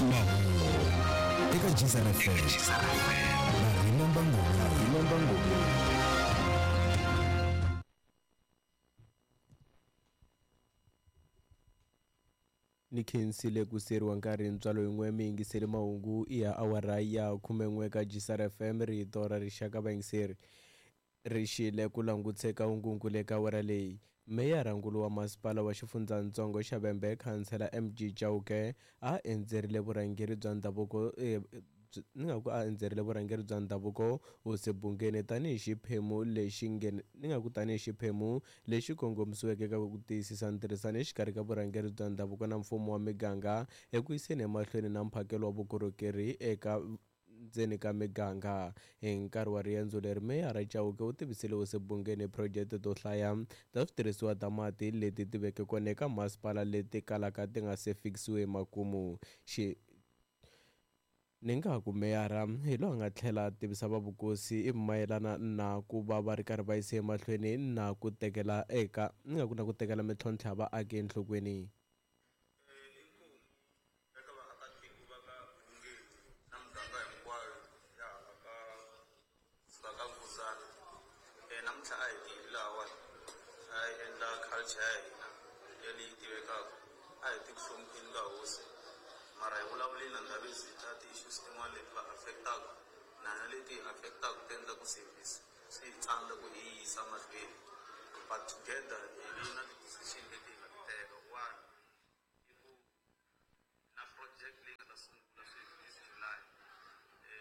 Mahungu eka Jizana FM na Rina Mbangoni. Ni khensile ku siyeriwa nkarhi ntswalo yin'we mi yingiseli mahungu ya awara ya 11 ka Jisara FM, rito ra rixaka. Vayingiseri ri xile ku languteka hungungu eka awara leyi. Meyara-nkulu wa masipala wa xifundzatsongo xa Vhembe, khansela MG Chauke, a endzerile vurhangeri bya ndhavuko ni nga ku a endzerile vurhangeri bya ndhavuko Hosi Bungeni tanihi xiphemu lexi ni nga ku tanihi xiphemu lexi kongomisiweke eka ku tiyisisa ntirhisano exikarhi ka vurhangeri bya ndhavuko na mfumo wa miganga eku yiseni emahlweni na mphakelo wa vukorhokeri eka ndzeni ka miganga. Hi nkarhi wa riendzo leri, meyara Chauke u tivisile Hosi Bungeni phurojeke to hlaya ta switirhisiwa ta mati leti ti veke kona eka masipala leti kalaka ti nga se fikisiwi emakumu. Xi ni nga ku meyara hi loyi a nga tlhela a tivisa va vukosi mayelana na ku va va ri karhi va yise emahlweni na ku tekela eka ni nga ku na ku tekela mintlhontlho ya vaaki enhlokweni. Eka vaakatiko va ka Bungeni na muganga hinkwayo ya hala ka kusuka ka Vukuzana, namuntlha a hi tile lahawani a hi endla culture ya hina ya leyi tivekaka, a hi ti ku hlonipheni ka hosi, mara hi vulavuleni na Ndhavezitha ti-issues tin'wana leti va affect-aka na hina leti hi affect-aka ti endla ku service swi hi tsandza ku hi yisa mahlweni, but together hi vi na ti-decision leti hi nga ti teka. One i ku na project leyi nga ta sungula sweswi this July.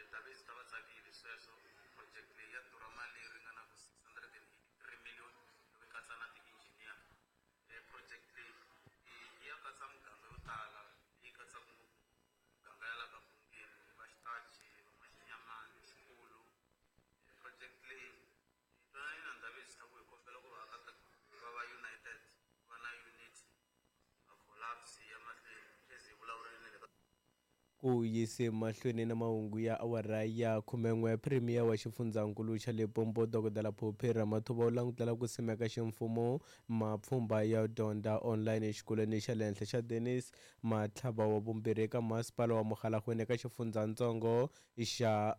Ndhavezitha va tsakile sweswo. Project leyi ya durha mali leyi ringanaka 683 million loko yi katsa na ti-engineer. Project leyi yi ya katsa muganga yo tala, leyi katsaka ngopfu muganga ya la ka Bungeni, va Xitachi, va Maxinyamani, Xikulu. Project leyi hi twanane na Ndhavezitha ku hi kombela ku vaakatiko va va united, va na unity, va collapse ya mahlweni as hi vulavurile na le ka. Ku yise mahlweni na mahungu ya awara ya 11, Premier wa xifundzankulu xa Limpopo Dokodela Phophi Ramathuba u langutela ku simeka ximfumo mapfhumba ya dyondza online exikolweni xa le henhla xa Dennis Matlhaba wa vumbirhi eka masipala wa Mogalakwena eka xifundzatsongo xa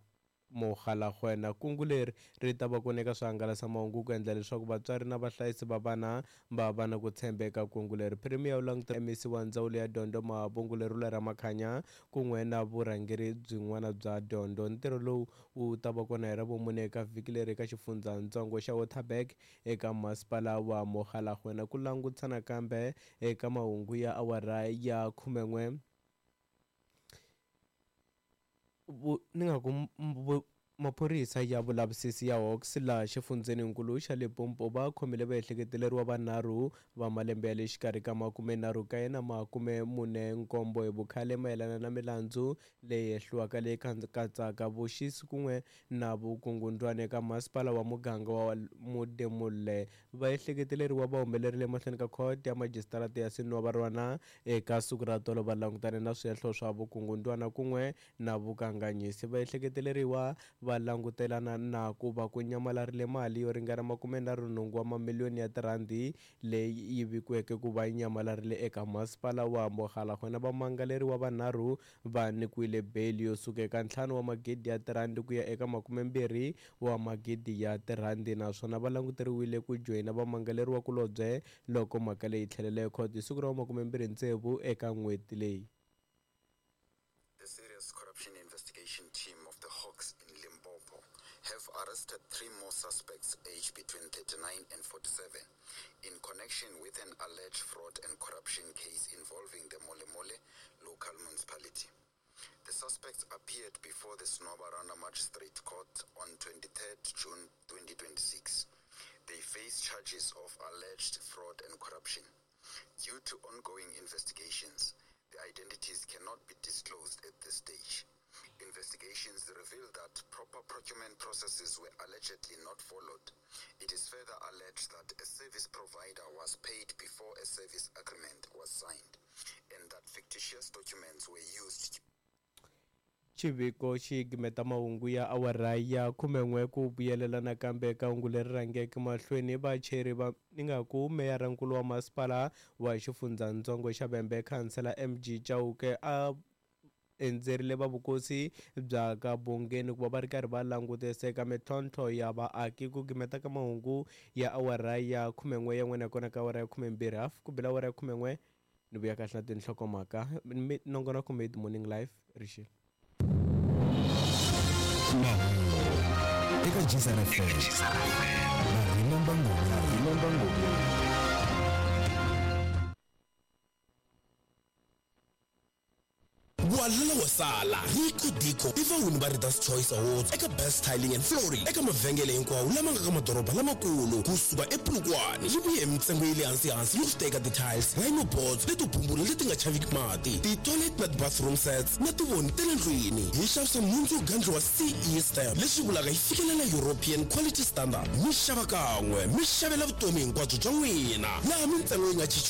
Mogalakwena. Kungu leri ri ta va kona eka swihangalasamahungu ku endla leswaku vatswari na vahlayisi va vana va va na ku tshemba eka kungu leri. Premier u langutela MEC wa ndzawulo ya dyondzo Mahabungu Lerule Ramakhanya kun'we na vurhangeri byin'wana bya dyondzo. Ntirho lowu wu ta va kona hi Ravumune eka vhiki leri eka xifundzatsongo xa Waterberg eka masipala wa Mogalakwena. Ku langutisa nakambe eka mahungu ya awara ya 11, ni nga ku maphorisa ya vulavisisi ya Hawks laha xifundzheninkulu xa Limpopo va khomile vaehleketeleriwa vanharhu va malembe ya le xikarhi ka 39 na 47 hi vukhale mayelana na milandzu leyi hehliwaka leyi katsaka vuxisi kun'we na vukungundwani eka masipala wa muganga wa Modimolle. Vaehleketeleriwa va humelerile emahlweni ka khoto ya majisitarata ya Senwabarwana eka siku ra tolo va langutane na swihehlo swa vukungundwana kun'we na vukanganyisi. Vaehleketeleriwa va langutelana na ku va ku nyamalarile mali yo ringana 38 wa mamiliyoni ya tirhandi leyi yi vikiweke ku va yi nyamalarile eka masipala wa Mogalakwena. Vamangaleriwa vanharhu va nyikiwile beyili yo suka eka 5 wa magidi ya tirhandi ku ya eka 20 wa magidi ya tirhandi, naswona va languteriwile ku joyina vamangaleriwa kulobye loko mhaka leyi tlhelela ekhoto hi siku ra 26 eka n'hweti leyi. The Serious Corruption Investigation Team of the Hawks in Limpopo have arrested 3 more suspects aged between 39 and 47 in connection with an alleged fraud and corruption case involving the Molemole local municipality. The suspects appeared before the Senwabarwana Magistrate Court on 23rd June 2026. They face charges of alleged fraud and corruption. Due to ongoing investigations, the identities cannot be disclosed at this stage. Investigations reveal that proper procurement processes were allegedly not followed. It is further alleged that a service provider was paid before a service agreement was signed and that fictitious documents were used. Xiviko xi gimeta mahungu ya awara ya 11 ku vuyelela nakambe eka hungu leri rhangeke mahlweni. Vacheri va ni nga ku meyara-nkulu wa masipala wa xifundzatsongo xa Vhembe, khansela MG Chauke, a Endzerile va vukosi bya ka Bongeni ku va va ri karhi va langutisa eka mintlhontlho ya vaaki ku gimeta ka mahungu ya awara ya 11 ya n'wina kona ka awara ya 12 half ku bela awara ya 11 ni vuya kahle na tinhlokomhaka nongonoko mid morning live rixile. Mahungu eka Jizara FM na Remember Ngoma. Remember Ngoma. Walala wa sala Rico Dico i vawini va Readers Choice Awards eka Best Tiling and Flooring eka mavhengele hinkwawo lama nga ka madoroba lamakulu kusuka ePolokwane. Yi vuye hi mintsengo ya le hansi-hansi yo teka ti-tiles, rhino boards leto bumbula leti nga chaviki mati, ti-toilet na ti-bathroom sets na tivoni ta le ndlwini. Hi xavisa nhundzu yo gandliwa CE stamp, leswi vulaka yi fikelela European Quality Standard. Mi xava kan'we mi xavela vutomi hinkwabyo bya n'wina, laha mintsengo yi nga cinciwiki.